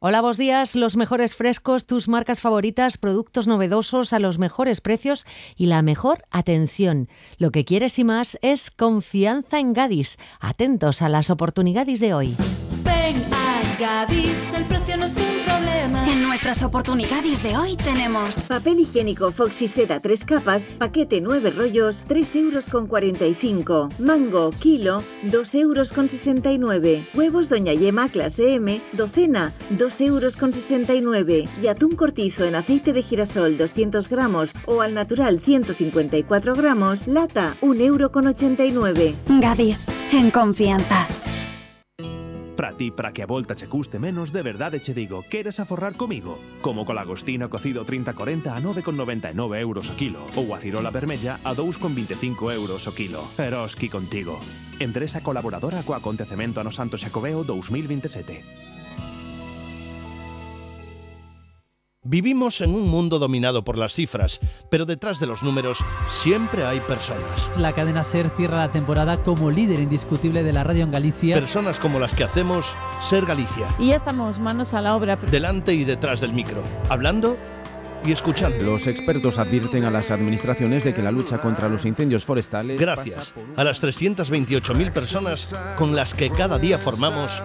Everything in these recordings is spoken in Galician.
Hola, buenos días. Los mejores frescos, tus marcas favoritas, productos novedosos a los mejores precios y la mejor atención. Lo que quieres y más es confianza en Gadis. Atentos a las oportunidades de hoy. Ven a Gadis, el precio no es un problema. En nuestras oportunidades de hoy tenemos papel higiénico Foxy Seda 3 capas, paquete 9 rollos, 3,45 €. Mango, kilo, 2,69 €. Huevos Doña Yema clase M, docena, 2,69 €. Y atún cortizo en aceite de girasol 200 gramos o al natural 154 gramos, lata, 1,89 €. Gadis, en confianza. Para ti, para que a volta che custe menos, de verdade che digo, queres aforrar comigo? Como co lagostino cocido 30-40 a 9,99 € o kilo, ou a cirola vermella a 2,25 € o kilo. Eroski contigo. Empresa colaboradora co acontecemento Ano Santo Xacobeo 2027. Vivimos en un mundo dominado por las cifras, pero detrás de los números siempre hay personas. La cadena SER cierra la temporada como líder indiscutible de la radio en Galicia. Personas como las que hacemos Ser Galicia. Y ya estamos manos a la obra. Delante y detrás del micro, hablando y escuchando. Los expertos advierten a las administraciones de que la lucha contra los incendios forestales... Gracias a las 328.000 personas con las que cada día formamos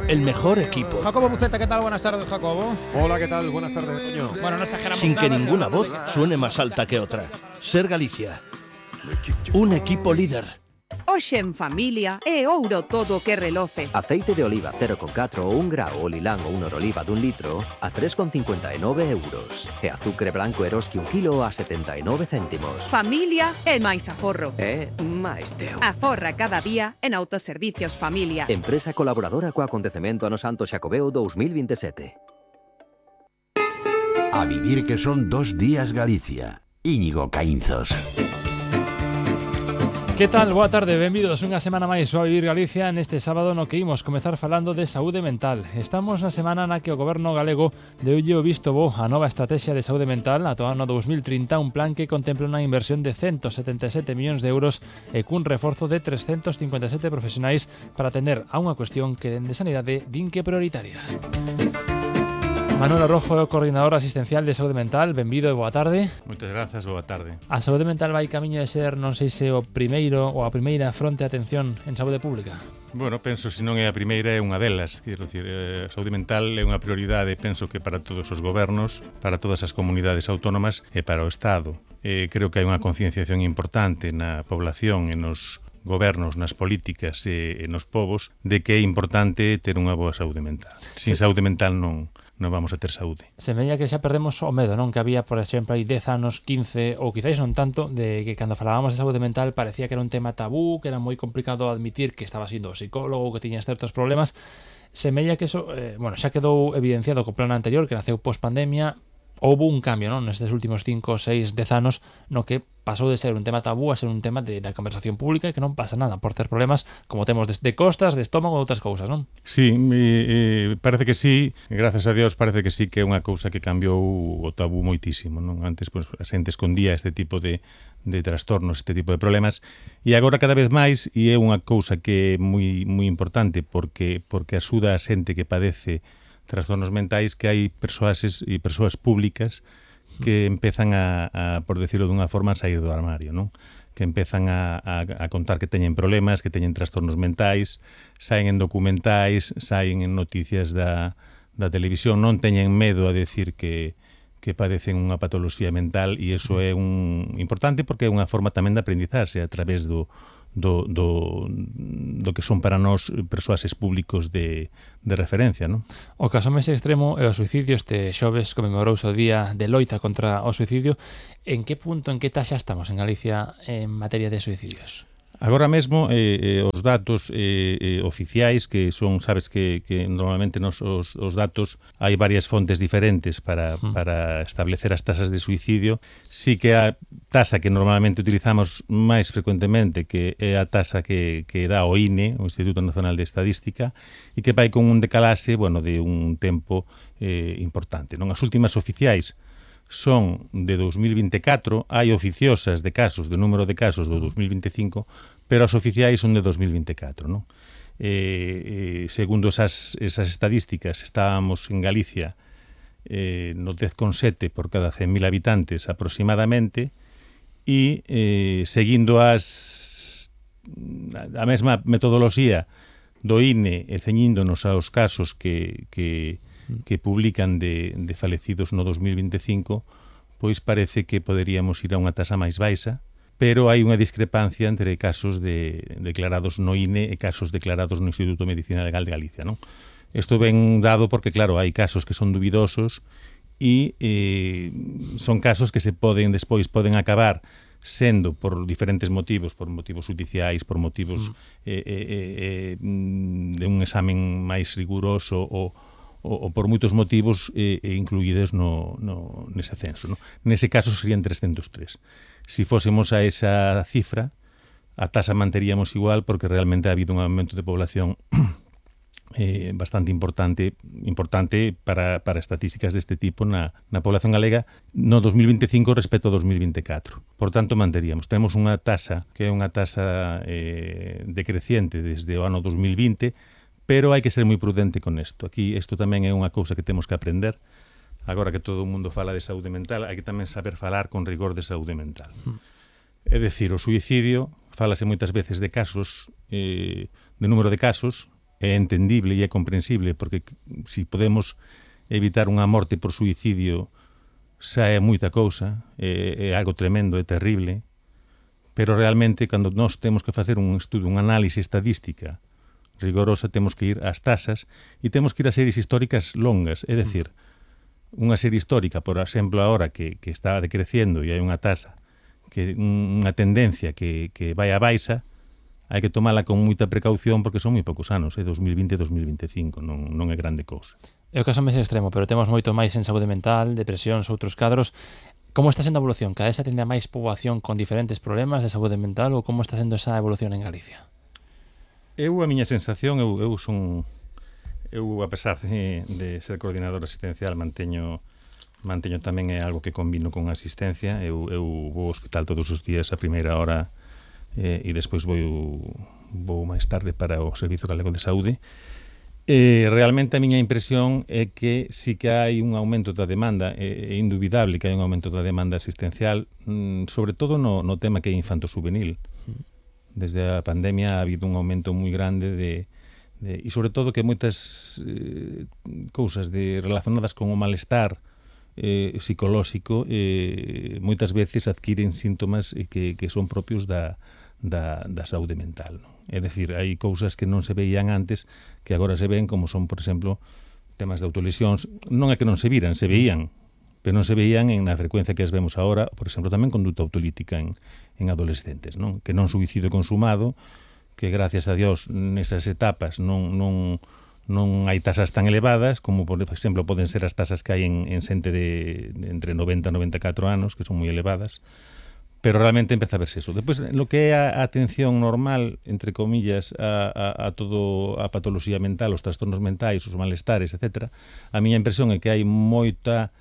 el mejor equipo. Jacobo Buceta, ¿qué tal? Buenas tardes, Jacobo. Hola, ¿qué tal? Buenas tardes, Toño. Bueno, no exageramos Sin nada, que ninguna voz suene más alta que otra. Ser Galicia. Un equipo líder. Hoxe en familia é ouro todo que reloce. Aceite de oliva 0,4 ou 1 grao ou lilán ou 1 oliva dun litro a 3,59 €. E azucre branco Eroski 1 kilo a 79 céntimos. Familia é máis aforro. É máis teu. Aforra cada día en Autoservicios Familia. Empresa colaboradora co acontecemento Ano Santo Xacobeo 2027. A vivir que son 2 días Galicia. Íñigo Caínzos. Que tal? Boa tarde, benvidos unha semana máis ao Vivir Galicia neste sábado no que imos comezar falando de saúde mental. Estamos na semana na que o goberno galego deulle o visto bo a nova estrategia de saúde mental ata o ano 2030, un plan que contempla unha inversión de 177 millóns de euros e cun reforzo de 357 profesionais para atender a unha cuestión que dende Sanidade din que é prioritaria. Manuel Arrojo, coordinador asistencial de saúde mental, benvido e boa tarde. Moitas grazas, boa tarde. A saúde mental vai camiño de ser, non sei se o primeiro ou a primeira fronte de atención en saúde pública. Bueno, penso se non é a primeira é unha delas, quero dicir, a saúde mental é unha prioridade, penso que para todos os gobernos, para todas as comunidades autónomas e para o Estado. Creo que hai unha concienciación importante na población e nos gobernos, nas políticas e nos povos de que é importante ter unha boa saúde mental. Sin saúde mental non vamos a ter saúde. Semella que xa perdemos o medo, non? Que había, por exemplo, hai 10 anos, 15 ou quizáis non tanto, de que cando falábamos de saúde mental parecía que era un tema tabú, que era moi complicado admitir que estaba siendo psicólogo, que tiñas certos problemas. Semella que eso, xa quedou evidenciado co plan anterior, que naceu post-pandemia. Houve un cambio, non? Nestes últimos 5, 6, 10 anos no que pasou de ser un tema tabú a ser un tema da conversación pública e que non pasa nada por ter problemas como temos de costas, de estómago ou outras cousas, non? Sí, parece que sí, gracias a Dios parece que sí que é unha cousa que cambiou o tabú moitísimo, non? Antes pues, a xente escondía este tipo de trastornos, este tipo de problemas e agora cada vez máis e é unha cousa que é moi importante porque axuda a xente que padece trastornos mentais, que hai persoas públicas que empezan a por decirlo dunha forma, a sair do armario, non? Que empezan a contar que teñen problemas, que teñen trastornos mentais, saen en documentais, saen en noticias da televisión, non teñen medo a decir que padecen unha patoloxía mental e iso é importante porque é unha forma tamén de aprendizaxe a través do que son para nós persoas públicos de referencia, non? O caso máis extremo é o suicidio. Este xoves conmemorouse o Día de Loita contra o Suicidio. En que punto, en que taxa estamos en Galicia en materia de suicidios? Agora mesmo os datos oficiais que son, sabes que normalmente os datos hai varias fontes diferentes para establecer as tasas de suicidio. Sí que a tasa que normalmente utilizamos máis frecuentemente que é a tasa que dá o INE, o Instituto Nacional de Estadística, e que vai con un decalaxe, de un tempo importante, non? As últimas oficiais son de 2024, hai oficiosas de casos, de número de casos do 2025, pero as oficiais son de 2024, non? segundo esas estadísticas, estábamos en Galicia no 10,7 por cada 100.000 habitantes aproximadamente, e seguindo a mesma metodoloxía do INE e ceñíndonos aos casos que publican de falecidos no 2025, pois parece que poderíamos ir a unha tasa máis baixa, pero hai unha discrepancia entre casos declarados no INE e casos declarados no Instituto de Medicina Legal de Galicia, non? Isto ben dado porque, claro, hai casos que son dubidosos e son casos que poden acabar sendo por diferentes motivos, por motivos judiciais, por motivos de un examen máis riguroso ou por moitos motivos incluídos nese censo, non? Nese caso serían 303. Si fósemos a esa cifra, a tasa manteríamos igual porque realmente ha habido un aumento de población bastante importante para estadísticas deste tipo na población galega no 2025 respecto ao 2024. Por tanto, manteríamos. Temos unha tasa que é unha tasa decreciente desde o ano 2020, pero hai que ser moi prudente con isto. Aquí, isto tamén é unha cousa que temos que aprender. Agora que todo o mundo fala de saúde mental, hai que tamén saber falar con rigor de saúde mental. É dicir, o suicidio, fálase moitas veces de casos, de número de casos, é entendible e é comprensible, porque se podemos evitar unha morte por suicidio, xa é moita cousa, é algo tremendo, é terrible, pero realmente, cando nós temos que facer un estudo, unha análise estadística rigorosa, temos que ir ás tasas e temos que ir a series históricas longas, é dicir, unha serie histórica, por exemplo, agora que está decreciendo e hai unha tasa, unha tendencia que vai a baixa, hai que tomala con moita precaución porque son moi poucos anos, 2020 e 2025, non é grande cousa. É o caso máis extremo, pero temos moito máis en saúde mental, depresións, outros cadros. Como está sendo a evolución? Cada vez atende a máis poboación con diferentes problemas de saúde mental ou como está sendo esa evolución en Galicia? A miña sensación, eu a pesar de ser coordinador asistencial, manteño tamén é algo que combino con asistencia. Eu vou ao hospital todos os días a primeira hora e despois vou máis tarde para o Servizo Galego de Saúde. Realmente a miña impresión é que sí que hai un aumento da demanda, é indubidable que hai un aumento da demanda asistencial, sobre todo no tema que é infanto-juvenil. Desde a pandemia ha habido un aumento moi grande e sobre todo que moitas cousas relacionadas con o malestar psicolóxico moitas veces adquiren síntomas que son propios da saúde mental, non? É dicir, hai cousas que non se veían antes que agora se ven, como son, por exemplo, temas de autolesións. Non é que non se viran, se veían, pero non se veían en a frecuencia que as vemos agora, por exemplo, tamén conduta autolítica en adolescentes, non? Que non suicidio consumado, que gracias a Dios nesas etapas non hai tasas tan elevadas como, por exemplo, poden ser as tasas que hai en xente de entre 90 e 94 anos, que son moi elevadas, pero realmente empeza a verse eso. Despois, lo que é a atención normal, entre comillas, a todo a patoloxía mental, os trastornos mentais, os malestares, etc., a miña impresión é que hai moita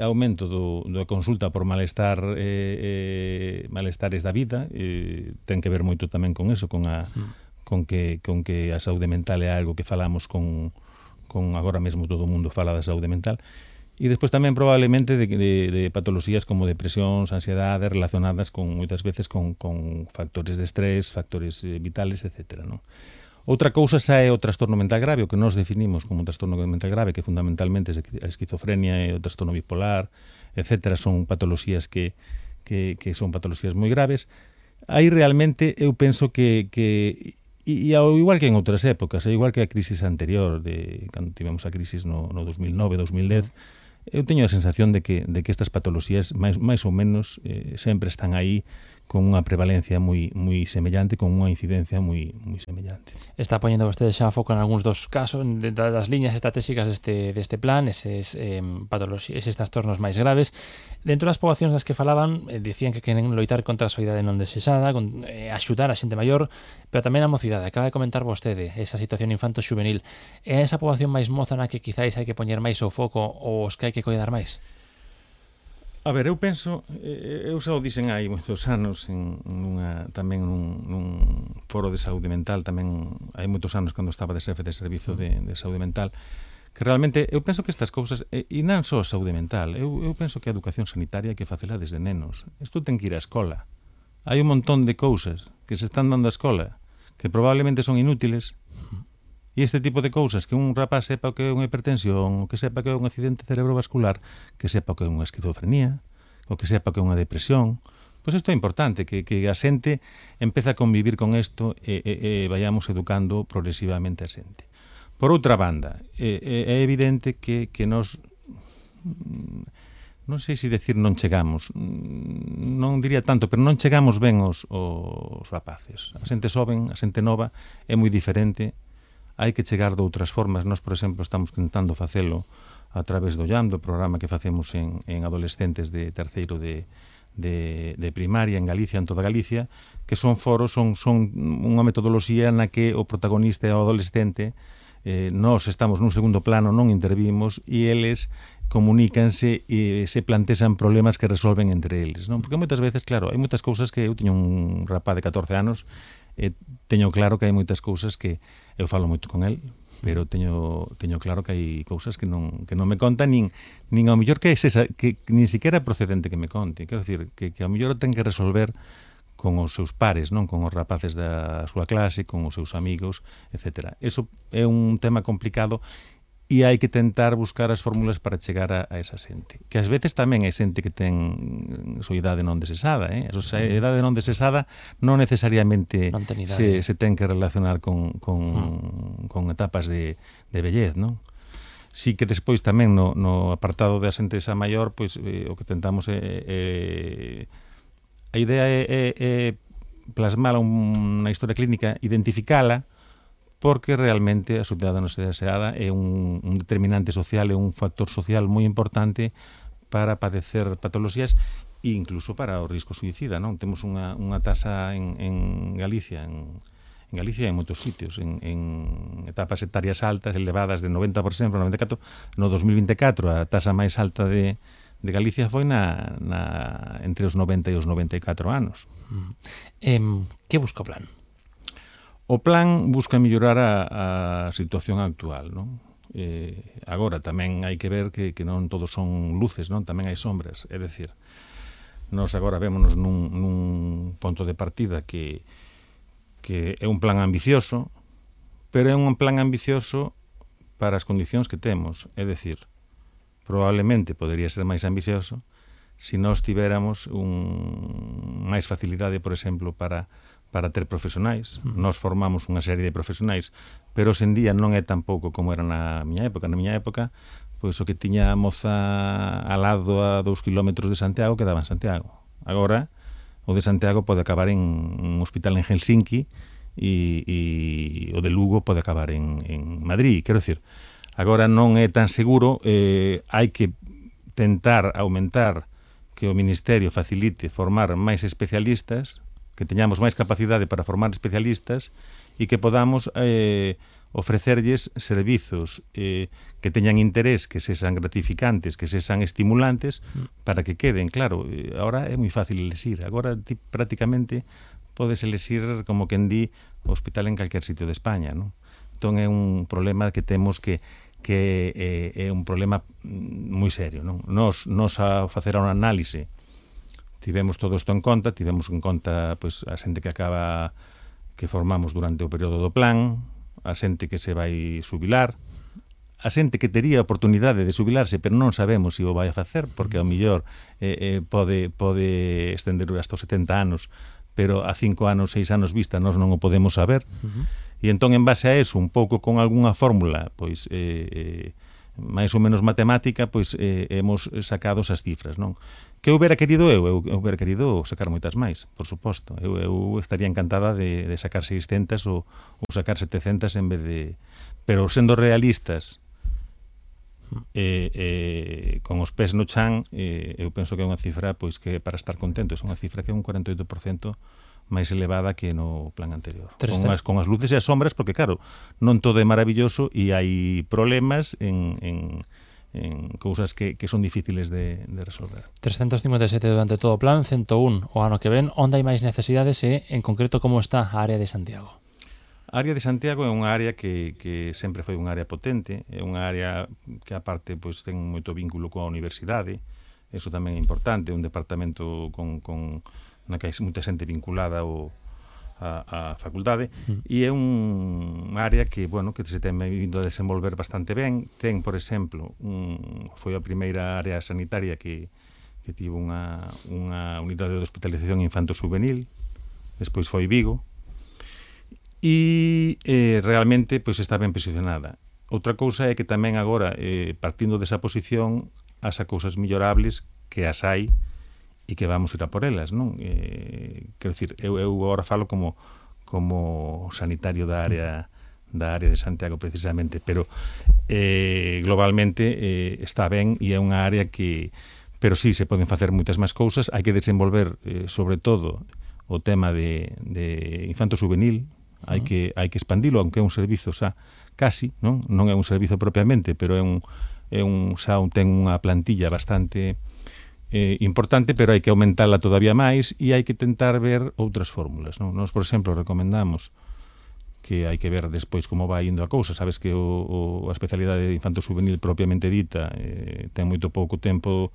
aumento da consulta por malestares da vida, ten que ver moito tamén con eso, con que a saúde mental é algo que falamos con agora mesmo todo o mundo fala da saúde mental, e despois tamén probablemente de patoloxías como depresións, ansiedade, relacionadas moitas veces con factores de estrés, factores vitales, etc., non? Outra cousa xa é o trastorno mental grave, o que nós definimos como trastorno mental grave, que fundamentalmente é a esquizofrenia e o trastorno bipolar, etc., son patoloxías que son patoloxías moi graves. Aí realmente eu penso que e ao igual que en outras épocas, ao igual que a crisis anterior, cando tivemos a crisis no 2009-2010, eu teño a sensación de que estas patoloxías máis ou menos sempre están aí con unha prevalencia moi semellante, con unha incidencia moi semellante. Está poñendo vostede xa foco en algúns dos casos das liñas estratégicas deste plan, eses trastornos máis graves. Dentro das poboacións das que falaban, dicían que queren loitar contra a soidade non desexada, axudar a xente maior, pero tamén a mocidade. Acaba de comentar vostede esa situación infanto-xuvenil. É esa poboación máis moza na que quizáis hai que poñer máis o foco ou os que hai que coidar máis? A ver, eu penso, eu xa o dixen hai moitos anos tamén nun foro de saúde mental, tamén hai moitos anos cando estaba de xefe de servizo de saúde mental, que realmente eu penso que estas cousas, e non só a saúde mental, eu penso que a educación sanitaria hai que facela desde nenos. Isto ten que ir á escola. Hai un montón de cousas que se están dando á escola que probablemente son inútiles. E este tipo de cousas, que un rapaz sepa o que é unha hipertensión, o que sepa que é un accidente cerebrovascular, que sepa o que é unha esquizofrenía, o que sepa que é unha depresión, pois isto é importante, que a xente empeza a convivir con isto e vayamos educando progresivamente a xente. Por outra banda, é evidente que nos, non sei se decir non chegamos, non diría tanto, pero non chegamos ben os rapaces. A xente xoven, a xente nova, é moi diferente. Hai que chegar de outras formas. Nós, por exemplo, estamos tentando facelo a través do YAM, do programa que facemos en adolescentes de terceiro de primaria en Galicia, en toda Galicia, que son foros, son unha metodoloxía na que o protagonista é o adolescente, nós estamos nun segundo plano, non intervimos, e eles comunícanse e se plantexan problemas que resolven entre eles, non? Porque moitas veces, claro, hai moitas cousas que eu teño un rapaz de 14 anos e teño claro que hai moitas cousas que eu falo moito con el, pero teño claro que hai cousas que non me conta nin ao mellor que nin siquiera é procedente que me conte. Quero dicir, que ao mellor ten que resolver con os seus pares, non, con os rapaces da súa clase, con os seus amigos, etc. Eso é un tema complicado e hai que tentar buscar as fórmulas para chegar a esa xente. Que ás veces tamén hai xente que ten súa idade non desesada, A súa idade non desesada non necesariamente se ten que relacionar con etapas de vellez, non? Si que despois tamén no apartado da xente xa maior, pois o que tentamos é a idea é plasmala unha historia clínica, identificala, porque realmente a sociedade non deseada é un determinante social, é un factor social moi importante para padecer patoloxías e incluso para o risco suicida, non? Temos unha tasa en Galicia, en Galicia e en moitos sitios, en etapas etarias altas, elevadas de 90%, 94%, no 2024 a tasa máis alta de Galicia foi entre os 90 e os 94 anos. Que busca o plan? O plan busca mellorar a situación actual, non? Agora tamén hai que ver que non todos son luces, non? Tamén hai sombras, é dicir, nós agora vémonos nun ponto de partida que é un plan ambicioso, pero é un plan ambicioso para as condicións que temos, é dicir, probablemente podería ser máis ambicioso se nós tiveramos máis facilidade, por exemplo, para ter profesionais. Nós formamos unha serie de profesionais, pero hoxe en día non é tampouco como era na miña época. Na miña época, pois o que tiña a moza al lado a 2 kilómetros de Santiago quedaba en Santiago. Agora, o de Santiago pode acabar en un hospital en Helsinki e o de Lugo pode acabar en Madrid. Quero dicir, agora non é tan seguro, hai que tentar aumentar que o Ministerio facilite formar máis especialistas, que teñamos máis capacidade para formar especialistas e que podamos ofrecerlles servizos que teñan interés, que sexan gratificantes, que sexan estimulantes, para que queden. Claro, agora é moi fácil elexir. Agora ti prácticamente podes elexir, como quen di, o hospital en calquer sitio de España, non? Entón é un problema que temos que é un problema moi serio, non? Nos a facer unha análise tivemos todo isto en conta, pois a xente que formamos durante o período do plan, a xente que se vai xubilar, a xente que tería a oportunidade de xubilarse, pero non sabemos se o vai a facer, porque ao millor pode estender hasta os 70 anos, pero a 5 anos, 6 anos vista nós non o podemos saber. E entón, en base a eso, un pouco con algunha fórmula, pois máis ou menos matemática, pois hemos sacado esas cifras, non? Que eu hubiera querido eu hubiera querido sacar moitas máis, por suposto. Eu estaría encantada de sacar 600 ou sacar 700 en vez de... Pero sendo realistas, con os pés no chan, eu penso que é unha cifra pois que para estar contentos, é unha cifra que é un 48% máis elevada que no plan anterior. Con as luces e as sombras, porque claro, non todo é maravilloso e hai problemas en cousas que son difíciles de resolver. 357 durante todo o plan, 101 o ano que ven. Onde hai máis necesidades e, en concreto, como está a área de Santiago? A área de Santiago é unha área que sempre foi unha área potente, é unha área que aparte pois, ten moito vínculo coa universidade, eso tamén é importante, un departamento na que hai moita xente vinculada a facultade, e é unha área que se ten vindo a desenvolver bastante ben. Ten, por exemplo, foi a primeira área sanitaria que tivo unha unidade de hospitalización infanto-juvenil, despois foi Vigo, e realmente pois está ben posicionada. Outra cousa é que tamén agora, partindo desa posición, as cousas mellorables que as hai e que vamos ir a por elas, non? Quero dicir, eu agora falo como sanitario da área de Santiago precisamente, pero globalmente está ben e é unha área que, pero sí, se poden facer moitas máis cousas. Hai que desenvolver sobre todo o tema de infanto-juvenil, hai que expandilo, aunque é un servizo xa casi, non é un servizo propiamente, pero ten unha plantilla bastante importante, pero hai que aumentala todavía máis e hai que tentar ver outras fórmulas, non? Nos, por exemplo, recomendamos que hai que ver despois como vai indo a cousa. Sabes que a especialidade de infanto-juvenil propiamente dita ten moito pouco tempo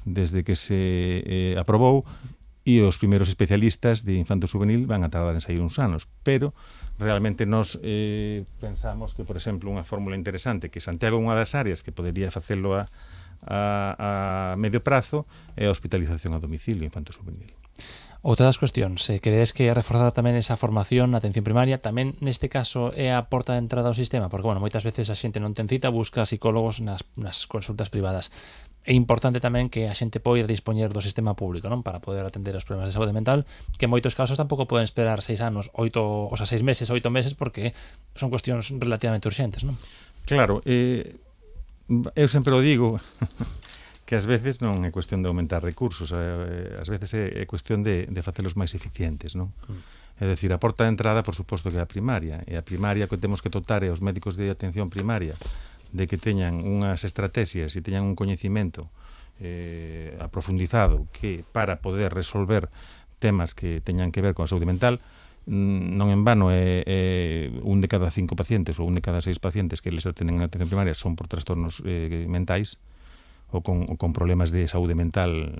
desde que se aprobou, e os primeiros especialistas de infanto-juvenil van a tardar en sair uns anos, pero realmente nos pensamos que, por exemplo, unha fórmula interesante, que Santiago é unha das áreas que podería facelo a medio prazo, é a hospitalización a domicilio infanto-juvenil. Outra das cuestións, credes que reforzar tamén esa formación na atención primaria tamén neste caso é a porta de entrada ao sistema? Porque, moitas veces a xente non ten cita, busca psicólogos nas consultas privadas. É importante tamén que a xente poida dispoñer do sistema público, non, para poder atender os problemas de saúde mental, que en moitos casos tampouco poden esperar 6 anos, 6 meses, 8 meses, porque son cuestións relativamente urxentes, non? Claro, eu sempre o digo que ás veces non é cuestión de aumentar recursos, ás veces é cuestión de facelos máis eficientes, non? É dicir, a porta de entrada, por suposto, que é a primaria, e a primaria que temos que dotar é os médicos de atención primaria de que teñan unhas estrategias e teñan un coñecimento aprofundizado que para poder resolver temas que teñan que ver con a saúde mental. Non en vano é 1 de cada 5 pacientes ou 1 de cada 6 pacientes que les atenden en atención primaria son por trastornos mentais ou con problemas de saúde mental,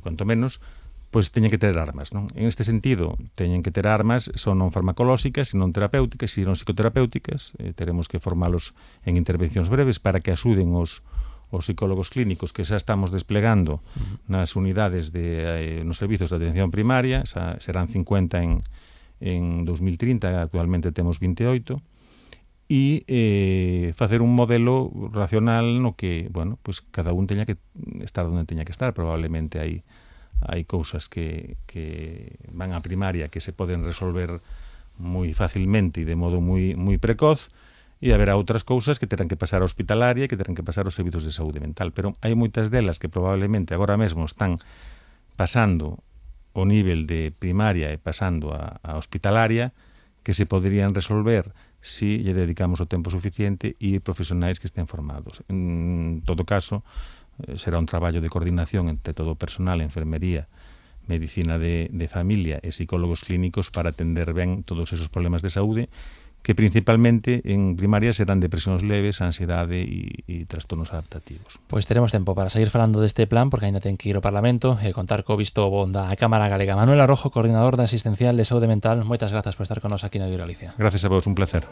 cuanto menos, pois teñen que ter armas, non? En este sentido, teñen que ter armas, son non farmacolóxicas, non terapéuticas, e non psicoterapéuticas. Teremos que formalos en intervencións breves para que axuden os psicólogos clínicos que xa estamos desplegando nas unidades nos servizos de atención primaria. Serán 50 en 2030, actualmente temos 28, e facer un modelo racional no que, pues cada un teña que estar onde teña que estar. Probablemente hai cousas que van á primaria que se poden resolver moi facilmente e de modo moi precoz, e haberá outras cousas que terán que pasar a hospitalaria e que terán que pasar aos servizos de saúde mental, pero hai moitas delas que probablemente agora mesmo están pasando o nivel de primaria e pasando a hospitalaria, que se poderían resolver si lle dedicamos o tempo suficiente e profesionais que estén formados. En todo caso, será un traballo de coordinación entre todo o personal, enfermería, medicina de familia e psicólogos clínicos para atender ben todos esos problemas de saúde, que principalmente en primaria serán depresións leves, ansiedade e trastornos adaptativos. Pois teremos tempo para seguir falando deste plan, porque ainda ten que ir ao Parlamento e contar co visto bon da Cámara Galega. Manuel Arrojo, coordinador da Asistencial de Saúde Mental, moitas grazas por estar con nos aquí na Radio Galicia. Gracias a vos, un placer.